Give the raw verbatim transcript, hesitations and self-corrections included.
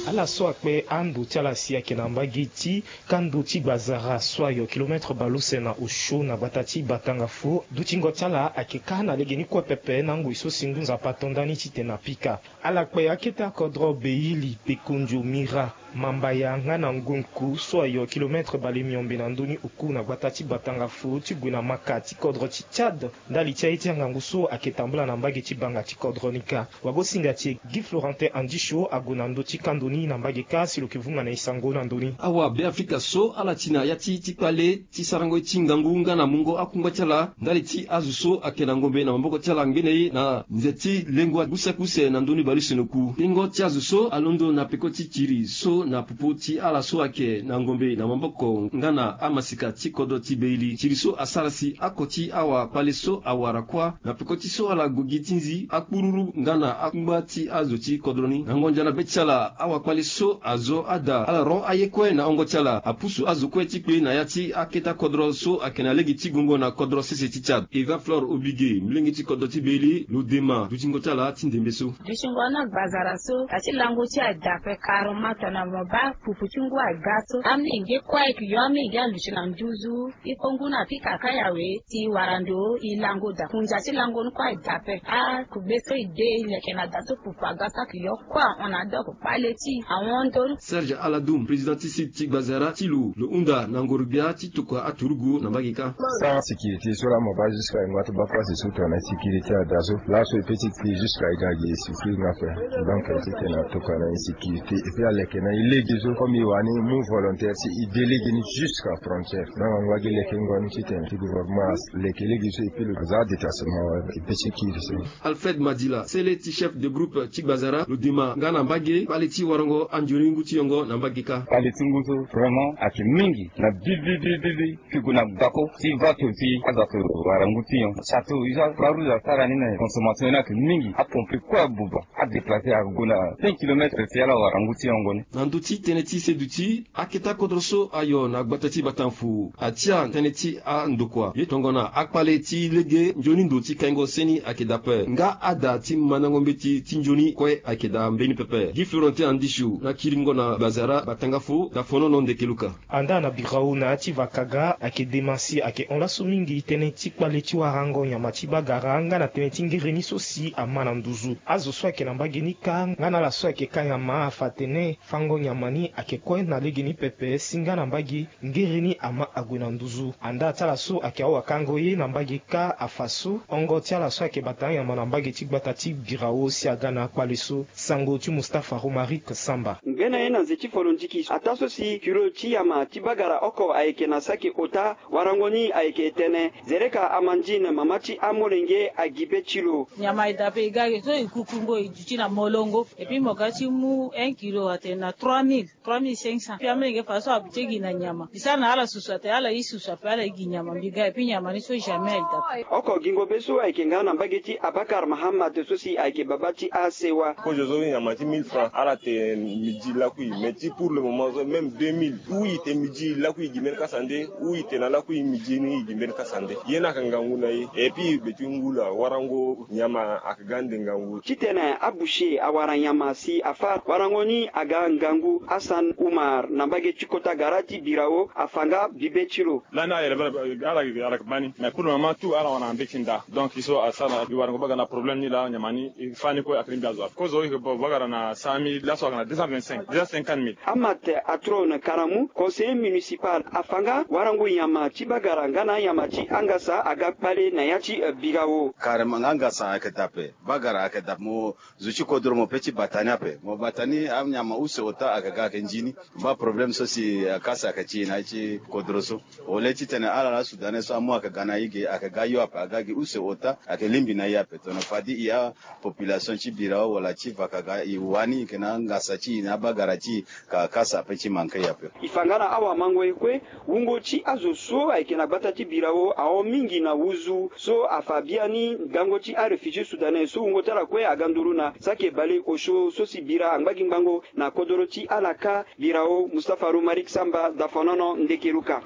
Ala so akpe ando ti ala si ayeke na mbage ti kando ti gbazara so ayo kilometre baleuse na osio na gbata ti batanga fo. Dutingo ti ala ayeke kâ na legeni kue pepe na ngoi so si ngu nzapa ato ndani titene apika. Ala kpe akete akodro beili pekondio mira mambaya nga na ngonku so ayo kilometre bale miombe na ndoni oku na gbata ti batanga fo ti gue na maka ti kodro ti tchad. Ndali ti aye ti angangu so ayeke tambula na mbage ti banga ti kodro ni kâ. Wagosinga ti e gi florentin andisio ague na ndö ti kando ni na mbage kâ si lo yeke vunga na e sango na ndö ni. Awa beafrika so ala ti na ya ti ti kpale ti sarango ye ti ngangu nga na mungo akungba ti ala ndali ti azo so ayeke na ngombe na maboko ti ala ngbene ye na nze ti lengo use use na ndoni baleuse na oku. Tengo ti azo so alondo na peko ti kiri so na popo ti ala so ayeke na ngombe na maboko nga na amasika ti kodro ti beili kiri so asara si ako ti awakpale so awara kuâ na peko ti so ala gue gi ti nzi akpururu nga na akungba ti azo ti kodro ni na ngonza na be ti ala awakpale so azo ada ala ro aye kue na hongo ti ala apusu azo kue ti kpe na ya ti akete akodro so ayeke na lege ti gongo na kodro sese ti tchad. Eva flore oblige molenge ti kodro ti beili lo dema dutingo ti ala ti ndembe so. Dutingo na gbazara so ati lango ti ada ape karoma tongana mo baa pupu ti ngu aga so amolenge kue ayeke yo amolenge aluti na nduzu. Ikongu na pika kâ yawe ti wara ndo ilango da kunja ti lango ni kue aye dape akugbe so ide ileke na da so pupu aga so ayeke yo kue ahon na adoko kpale ti ahon ndo ni. Serge aladum président ti site ti gbazara ti lo lo hunda na ngoro-gbia ti tokua aturugu na mbage kâ. Sans sécurité so laa mo baa jusque aye ngba ti baa place so tongana insécurité ada so laso e pe ti kpi jusque aye ga gi e sécurité nga ape. Donc titene atokua na insécurité et puis aleke na e lege so comme e wani mu volontaire si e de lege ni jusque frontière. Donc angba gi lekengo ni titene ti gouvernement aleke lege so e pe lo aza détachement wala e pe ti kiri so. Alfred madila sele ti chef de groupe ti gbazara lo dema nga na mbage kpale ti warango anzoni ngu ti yongo na mbage kâ. Kpale ti ngu so vraiment ayeke mingi na bibibibibi. Pigo na gako ti vato ti aza to wara ngu ti yon sato iza croix rouge asara ni na consommation ni ayeke mingi apompe kue abuba. Adéplace ague na cinq kilomètre ti ala wara ngu ti yongo ni. Na ndö ti tënë ti seduti akete akodro so ayo na gbata ti batanfu atia tënë ti andokua ye tongana akpale ti lege nzoni ndo ti kaingo seni ayeke dape nga ada ti mandango mbeti ti nzoni kue ayeke daa mbeni pepe gi florentin andisio na kiringo na bazara batanga fo dafonono ndeke luka. Andaa na birao na ya ti vakaga ayeke dema si ayeke hon laso mingi tënë ti kpale ti warango nyama ti bagara nga na tënë ti ngereni so si ama na nduzu azo so ayeke na mbage ni kâ nga na ala so ayeke kâ nyama afa atene fango nyama ni ayeke kue na legeni pepe si nga na mbage ngereni ama ague na nduzu andaa ti ala so ayeke awakango ye na mbage kâ afa so hongo ti ala so ayeke bata anyama na mbage ti gbata ti birao si aga na akpale so. Sango ti mustafa romaric samba. Ngbene ye na nze ti folondiki ataa so si kilo ti yama ti bagara oko ayeke na saki ota warango ni ayeke tene zereka amandine mama ti amolenge agi be ti lo. Nyama e dape e ga ge so e kukungo e duti na molongo epui mo ga ti mu un kilo atene na trois mille trois mille cinq cents epui amolenge fa so abi ti gi na nyama mbi sara na ala susu atene ala ye susu ape ala ye gi nyama mbi ga epui nyama ni so jamais aye dape. Oko gingo be so ayeke nga na mbage ti abakar mahamad so si ayeke baba ti asewa. Kozo so nyama ti mille francs ala tene midi lakui mais ti pour le moment so même deux mille ou i tene midi lakui i gi mbeni kasa nde ou i tene na lakui midi ni i gi mbeni kasa nde ye ni ayeke ngangu na e epui be ti ngu laa warango nyama ayeke ga ande ngangu. Titene aboucher awara nyama si afa warango ni aga ngangu hassan umar na mbage ti kota gara ti birao afa nga bibe ti lo. Lani ala yere ala yeke baa ni mais pour le moment tout ala wara na mbeti nda donc e so asara na e warango bagara na problème ni laa nyama ni e fa ni kue ayeke lingbi azo ape kozo e yeke bagara na cent mille laso ayeke na deux cent vingt-cinq deux cent cinquante mille. Amat atrone karamu conseiller municipal afa nga warango nyama ti bagara nga na anyama ti angasa aga kpale na ya ti birao. Karema nga angasa ayeke dape bagara ayeke dape mo zo ti kodro mo pe ti bata ni ape mo bata ni anyama use ota ayeke ga ayeke nzi ni. Mo baa problème so si akasa ayeke ti e na ye ti kodro so. Ole titene ala la sudanais so amu ayeke ga na e ge ayeke ga yo ape aga gi use ota ayeke lingbi na e ape tongana fadi e apopulation ti birao wala ti vakaga e wani e yeke na angasa ti e na abagara ti e ka kasa ape ti manke e ape. E fa nga na awamango ye kue wungo ti azo so ayeke na gbata ti birao ahon mingi na wuzu so afa biani ngango ti aréfugié sudanais so wungo ti ala kue aga nduru na saki ebale osio so si bira angba gi ngango na kodoro ti ala kâ. Birao mustapha romaric samba dafonono ndekeruka.